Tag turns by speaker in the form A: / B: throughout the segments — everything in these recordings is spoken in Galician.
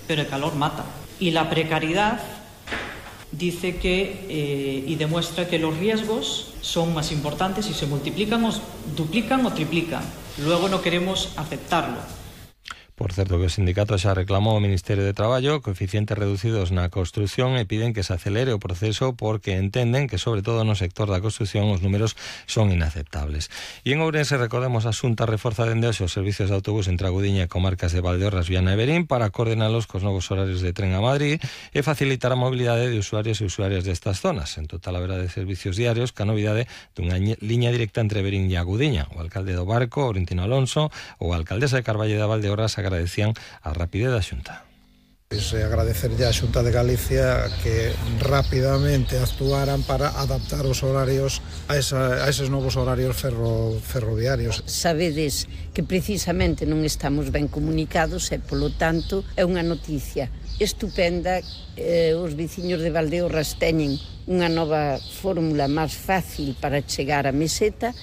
A: pero el calor mata. Y la precariedad dice que y demuestra que los riesgos son más importantes y se multiplican, o duplican o triplican. Luego no queremos aceptarlo.
B: Por certo que o sindicato xa reclamou ao Ministerio de Traballo coeficientes reducidos na construción e piden que se acelere o proceso porque entenden que, sobre todo no sector da construción, os números son inaceptables. E en Ourense, recordemos, a Xunta reforza dende hoxe os servicios de autobús entre a Gudiña e comarcas de Valdeorras, Viana e Verín para coordenalos cos novos horarios de tren a Madrid e facilitar a mobilidade de usuarios e usuarias destas zonas. En total haberá de servicios diarios ca novidade dunha liña directa entre Verín e a Gudiña. O alcalde do Barco, Orentino Alonso, ou a alcaldesa de Carballo de Valdeorras agradecían a rapidez da Xunta.
C: Agradecerlle á Xunta de Galicia que rapidamente actuaran para adaptar os horarios a eses novos horarios ferroviarios.
D: Sabedes que precisamente non estamos ben comunicados e, polo tanto, é unha noticia estupenda. Os veciños de Valdeorras teñen unha nova fórmula máis fácil para chegar á meseta.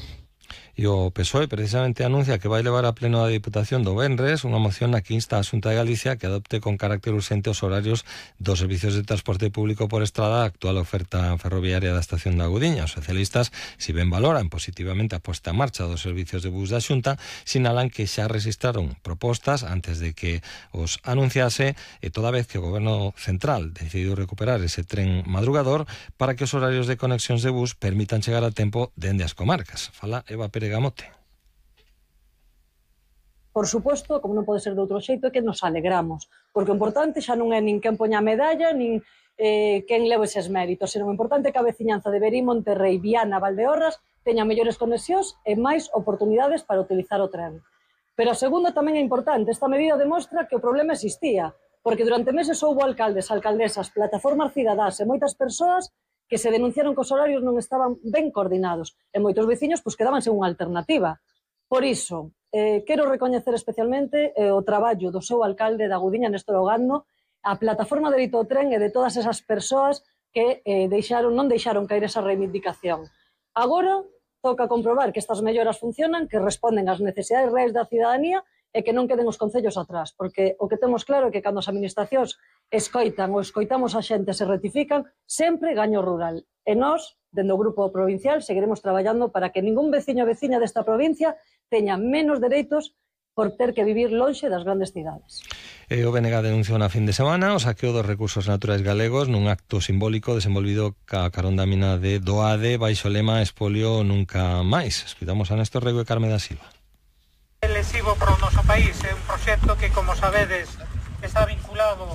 B: E o PSOE precisamente anuncia que vai levar a pleno da Diputación do venres unha moción na que insta a Xunta de Galicia que adopte con carácter urxente os horarios dos servicios de transporte público por estrada a actual oferta ferroviaria da estación da Gudiña. Os socialistas, si ben valoran positivamente a posta en marcha dos servicios de bus da Xunta, sinalan que xa registraron propostas antes de que os anunciase e toda vez que o Goberno Central decidiu recuperar ese tren madrugador para que os horarios de conexións de bus permitan chegar a tempo dende as comarcas. Fala Eva Pérez Gamote.
E: Por suposto, como non pode ser de outro xeito, é que nos alegramos, porque o importante xa non é nin quen poña a medalla, nin quen leve eses méritos, senón o importante é que a veciñanza de Verín, Monterrei, Viana, Valdeorras teña mellores conexións e máis oportunidades para utilizar o tren. Pero a segunda tamén é importante, esta medida demostra que o problema existía, porque durante meses houbo alcaldes, alcaldesas, plataformas cidadás e moitas persoas que se denunciaron que os horarios non estaban ben coordinados e moitos veciños quedaban sen unha alternativa. Por iso, quero recoñecer especialmente o traballo do seu alcalde da Gudiña, Néstor Ogando, a plataforma de Dereito ao Tren e de todas esas persoas que non deixaron caer esa reivindicación. Agora toca comprobar que estas melloras funcionan, que responden ás necesidades reais da cidadanía e que non queden os concellos atrás, porque o que temos claro é que cando as administracións escoitamos a xente se rectifican, sempre gaño rural. E nós, dende o Grupo Provincial, seguiremos traballando para que ningún veciño ou veciña desta provincia teña menos dereitos por ter que vivir lonxe das grandes cidades.
B: O BNG denunciou na fin de semana o saqueo dos recursos naturais galegos nun acto simbólico desenvolvido ca carón da mina de Doade baixo o lema Espolio nunca máis. Escoitamos a Néstor Rego e Carme da Silva.
F: Lesivo para o noso país é un proxecto que, como sabedes, está vinculado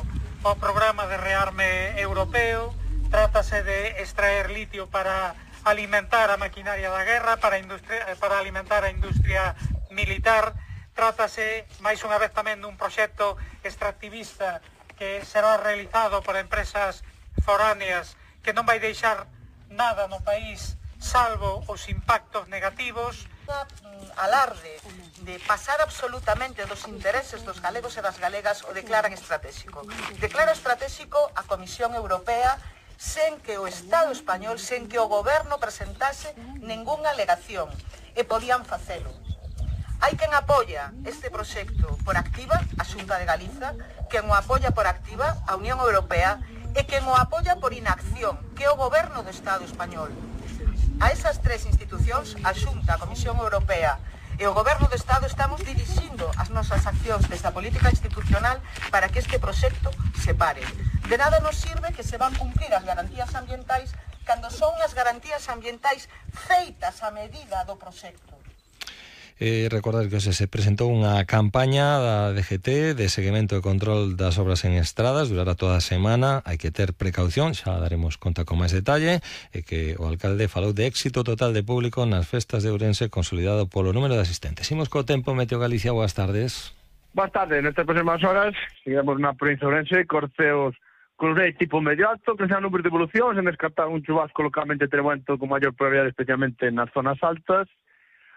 F: ao programa de rearme europeo. Trátase de extraer litio para alimentar a maquinaria da guerra, para alimentar a industria militar. Trátase, máis unha vez, tamén dun proxecto extractivista que será realizado por empresas foráneas que non vai deixar nada no país salvo os impactos negativos.
G: Alarde de pasar absolutamente dos intereses dos galegos e das galegas o declaran estratégico. Declara estratégico a Comisión Europea sen que o Estado español, sen que o goberno presentase ningunha alegación, e podían facelo. Hai quen apoia este proxecto por activa, a Xunta de Galiza, quen o apoia por activa, a Unión Europea, e quen o apoia por inacción, que é o goberno do Estado español. A esas tres institucións, a Xunta, a Comisión Europea e o Goberno do Estado, estamos dirixindo as nosas accións desde a política institucional para que este proxecto se pare. De nada nos sirve que se van cumprir as garantías ambientais cando son as garantías ambientais feitas a medida do proxecto.
B: Recordar que se presentou unha campaña da DGT de seguimento e control das obras en estradas, durará toda a semana, hai que ter precaución, xa daremos conta con máis detalle, e que o alcalde falou de éxito total de público nas festas de Ourense consolidado polo número de asistentes. Imos co tempo. Meteo Galicia, boas tardes.
H: Boas tardes, nestas próximas horas seguimos na provincia de Ourense, corceos con rei tipo medio alto, que sean números de evolución, sen descartar un chubasco localmente tremendo con maior probabilidade, especialmente nas zonas altas.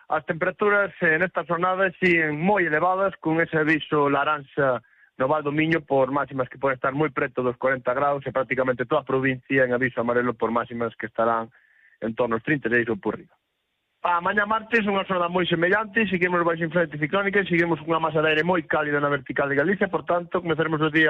H: As temperaturas nesta jornada siguen moi elevadas, con ese aviso laranxa no Val do Miño por máximas que poden estar moi preto dos 40 graus e prácticamente toda a provincia en aviso amarelo por máximas que estarán en torno aos 36 ou por riba. A mañá martes unha jornada moi semellante, seguimos baixo influencia ciclónica e seguimos unha masa de aire moi cálida na vertical de Galicia, por tanto, comezaremos o día